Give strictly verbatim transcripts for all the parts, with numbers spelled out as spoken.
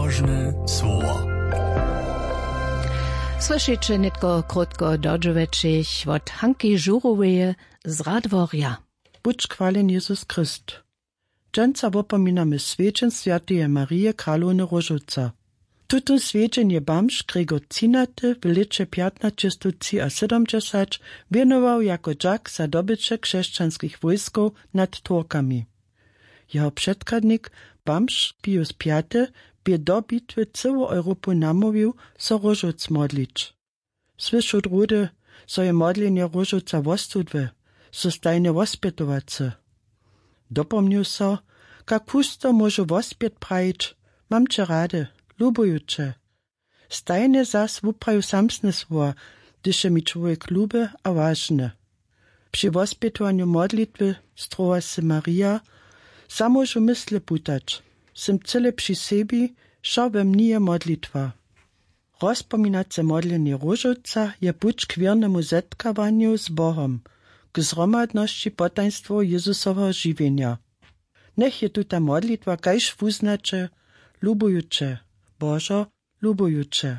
Nabožne słowo. Słyšeće nětko krótko dodźěłećich wot Hanki Žuroweje z Radworja. Budź chwaljen Jezus Chryst. Dźensa wopominamy swjedźeń swjateje Marije, kralowny Róžowca. Tutón swjedźeń je bamž Gregor Třinaty w lěće pjatnaćestowtřiasydomdźesać wjenował jako dźak za dobyće křesćanskich wójskow nad Turkami. Jeho předchadnik, bamž Pius pjaty, bě do bitwy cyłu Europu namołwił, so Róžowc modlić. Słyšoł druhdy, zo je modlenje Róžowca wostudłe, so stajnje wospjetowace. Dopomnił so, kak husto móžu wospjet prajić: „Mam će rady, lubuju će.“ Stajnje zas wupraju samsne słowa, hdyž je mi čłowjek luby a wažny. Při wospjetowanju modlitwy strowa sy Marija, za móžu mysle putać, sym cyle při sebi, wšo we mni je modlitwa. Rozpominace modlenje Róžowca je puć k wěrnemu zetkawanju z Bohom, k zhromadnosći potajnstwow Jezusowego žiwjenja. Njech je tuta modlitwa kaž wuznaće: „Lubuju će, Božo, lubuju će.“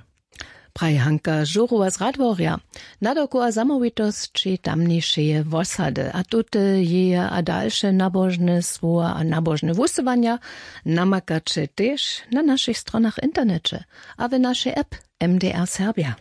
Praji Hanka Žurowa z Radworja. Nadawku a zamołwitosći tamnišeje wosady a tute jeje a dalše nabožne słowa a nabožne wusyłanja namakaće tež na našich stronach w interneće a w našej app M D R Serbja.